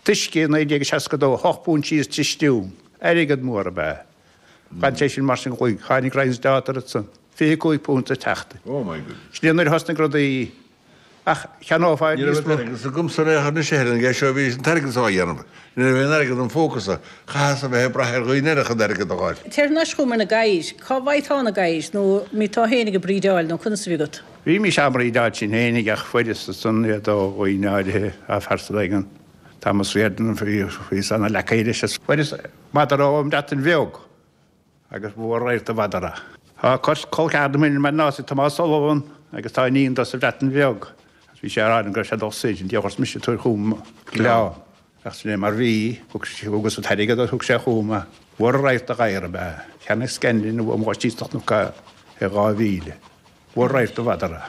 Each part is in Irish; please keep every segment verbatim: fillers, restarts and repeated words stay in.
Tuisce naoi déag seasca dó, hocht bpunt síos trí stiún. Airgead mór ab ea. D'fhan sé sin mar sin go Tháinig Ryan's Daughter ansan. Fiche cúig punt sa tseachtain. Oh my goodness. Sin é nuair a thosnaigh rudaí ach cheannófá Ní raibh níos an mó. t-airgead agamsa ar aon chor anois a Helen, é seo bhí an t-airgead á dhéanamh. Ní raibh aon airgead im phócasa. Chaitheas a bheith ag brath ar dhaoine eile chun airgead a fháil. Téir thar n-ais chugam ar na gadhair. Cá bhfaighfeá na gadhair nó mbí tú féinig ag breedeáil nó conas a bhí agat? Bhí mise á mbreedeáil sin féinig ach fuaireas ansan iad ó dhaoine áirithe a phearsa éigin. Thomas Riordan bhíos ana leacaí leis is fuaireas madra ón mBreatain Bheag agus mhór radharc de mhadra. Tá col ceathar dom mar ná Tomás Sullivan agus tá iníon dó sa Bhreatain Bheag. Bhí sé ar an go raibh sé dul soir, an diabhal mise tabhair chugam gleann. Ach sin é mar bhí, thug sé thugas an t-airgead thug sé chugam é. Mhór radharc de ghadhar ab ea. Cheannaigh Scanlon uaim dhá síos nó i dhá mhíle. Mhór radharc de mhadra.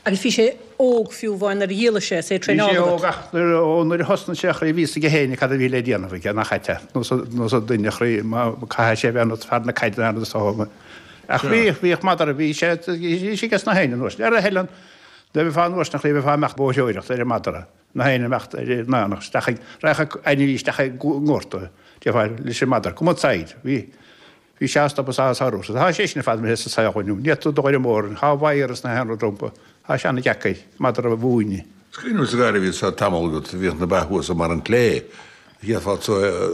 Agus bhí sé óg fiú amháin nuair a dhíoladh sé, is é Bhí sé traenáil óg agat. ach nuair ó nuair a thosnaigh sé chroí bhí a fhios aige féin cad a bhí le déanamh aige nach ait nó sa duine chroí má caithfidh sé bheith ionat fear na caide an is Ach bhí bhíodh madra bhí sé bhí sé ges na héinne nuair. Ar a Helen de bheith fá nuair na chroí bheith fá meach bóthreoireacht ar an madra. Na héinne meacht ar nánach isteach recha ainmhí isteach i ngorta de leis an madra. Come outside. Bhí bhí sé stop sa sárú. Tá sé sin fad sa saol inniu. Ní tú dóir mór, Thá virus na henra drompa. Tá sé an-deacair madra a mhúineadh. Scríobh sa gairbhí sa tamall agat bhíodh na ba thuas mar an clé. Chéadfá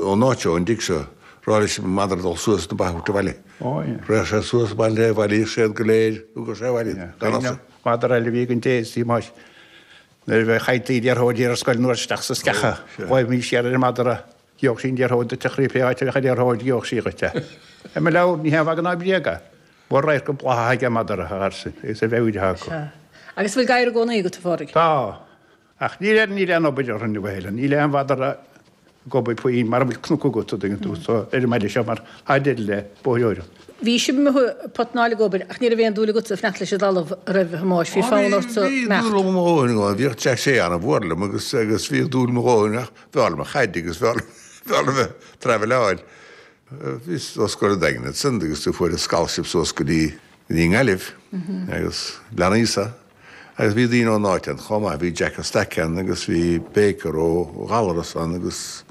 ón áit ón dtig seo rá leis an madra dul suas na ba abhaile. Ó, yeah. Rith sé suas baile bhailíodh siad go léir thugadh sé abhaile. Gan Madra eile bhí an dé sí más. Nuair a bheith chaití liathróid ar scoil nuair isteach sa sceacha, Ghlaoigh mé siar ar an madra, gheobhadh sí an liathróid duit a chroí pé áit a bheadh an liathróid gheobhadh sí dhuit é. Ar mo leabhar ní haon mhagadh ná bréag é. Mhór radharc go blátha aige madra a gharsin, agus a bheith acu. Sea. Agus bhfuil gadhair i gcónaí agat, a Phádraig? Tá. Ach níl níl aon obair orthu inniu a Helen, níl aon mhadra ag obair puinn mar a bhfuil cnoc agat a dtuigeann tú so ar an mbaile seo mar tá deireadh le bóithreoireacht. Bhí sibh amuigh potnáil ag obair ach ní raibh aon dúil agatsa fanacht leis an dtalamh roimh Thomáis, bhí fonn ortsa Bhí imeacht. dúil mo dhóthain agam, bhíodh Jack Shea an-mhór liom agus agus bhíodh dúil mo dhóthain ach b'fhearr liom a chaid agus b'fhearr b'fhearr liom bheith traveláil. Bhí os go daingean san agus tú fuair scholarship suas go dtí go dtí nGaillimh agus leanaíosa. Agus bhí daoine ón áit ann chomh maith, bhí Jack Stack ann agus bhí Baker ó Ghallaras ann agus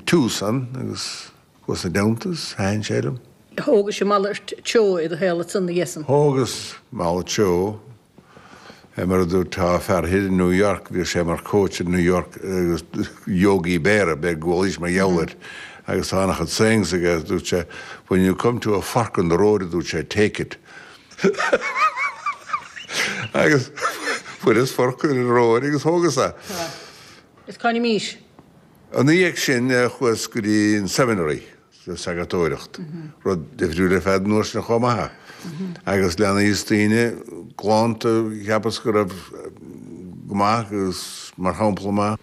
Tús ann agus chuas na deontas, thaithin sé liom. Thógais an malairt treo i do shaol ansan na dhiaidh san. Thógas malairt treo mar a dúirt tá fear thoir in New York, bhí sé mar coach in New York agus Yogi Berra be ggóís mar gheall agus tá an-chuid sayings aige dúirt sé when you come to a fork in the road dúirt sé take it. agus fuaireas fork in the road agus thógas é. Is cá mís. An dhiaidh sin chuas go dtí an seminary sa sagartóireacht, rud difriúil ar fad nuair sin chomh maith. Agus leanaíos daoine glánta cheapas go raibh go maith agus mar shampla maith.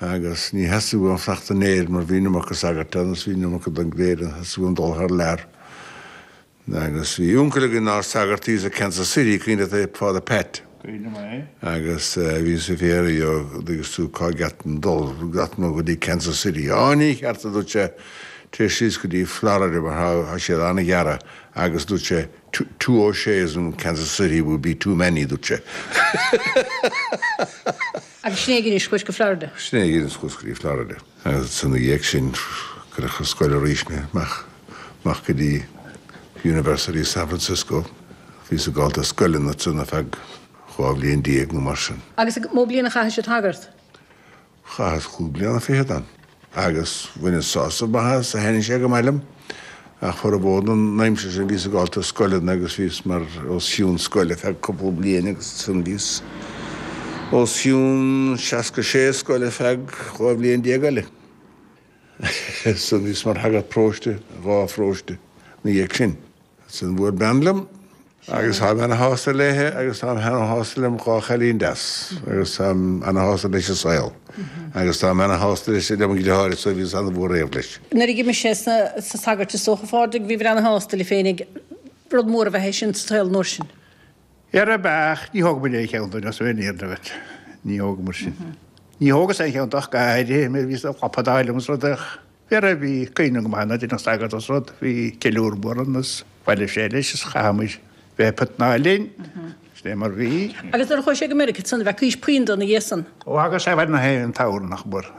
Agus ní theastaigh uaim fanacht in Éirinn mar bhí an iomarca sagart agus bhí an iomarca den gcléir an theastaigh uaim dul thar lear. Agus bhí uncail againn nár sagart thíos i Kansas City cuimhin leat Father Pat. Agus bhí sa féar agus tú cá gceart dul gat nó go dtí Kansas City. Á ní cheart dúirt sé téigh síos go dtí Florida mar tá siad an-ghearr agus dúirt sé two O'Sheas in Kansas City would be too many dúirt sé. Agus sin é chuais go Florida. Sin é chuas go dtí Florida. Agus san dhiaidh sin cuireadh scoil arís mé amach amach go dtí University of San Francisco. Bhí sa gáilta scoileanna san ar feadh dhá bhliain déag nó mar sin. Agus mó bliain a chaithfidh sé tagart. Chaitheas cúig bliana fichead ann. Agus bhaineas sásamh maith as a thaithin sé go maith liom. Ach formhór na n-aimsir sin bhíos ag gabháil scoileanna agus bhíos mar os cionn scoile feadh cúpla bliain agus san bhíos os cionn seasca sé scoile feadh dhá bhliain déag eile. San bhíos mar shagart paróiste dhá pharóiste na dhiaidh sin. San bhfuair bean liom agus tá ana-shásta léithe agus tá ana-shásta liom dhá chailín deas agus tá ana-shásta leis an saol. Agus tá ana-shásta leis liom an deartháir so bhíos an-mhór réamh leis. Nuair a d'imigh sé sa sa sagart is dócha Phádraig bhí ana-shásta le féinig rud mór a bheith sin sa saol nuair sin. Ar a beach ní thóg muid aon cheann dúinn as bheith níor duit. Ní thóg mar sin. Ní thógas aon cheann ach gaire, mé bhí sa lapadáil agus rud ach bhí a bhí cuimhne go maith na duine sagart os rud, bhí ceiliúr mór ann is bhailigh sé leis is chaithfimid bheith potnáil linn. Sin é mar bhí. Agus nuair a chuaigh sé go Meiriceá san bheith cuís puinn na dhiaidh san. Ó agus sé bheith na haon t-am nach mór.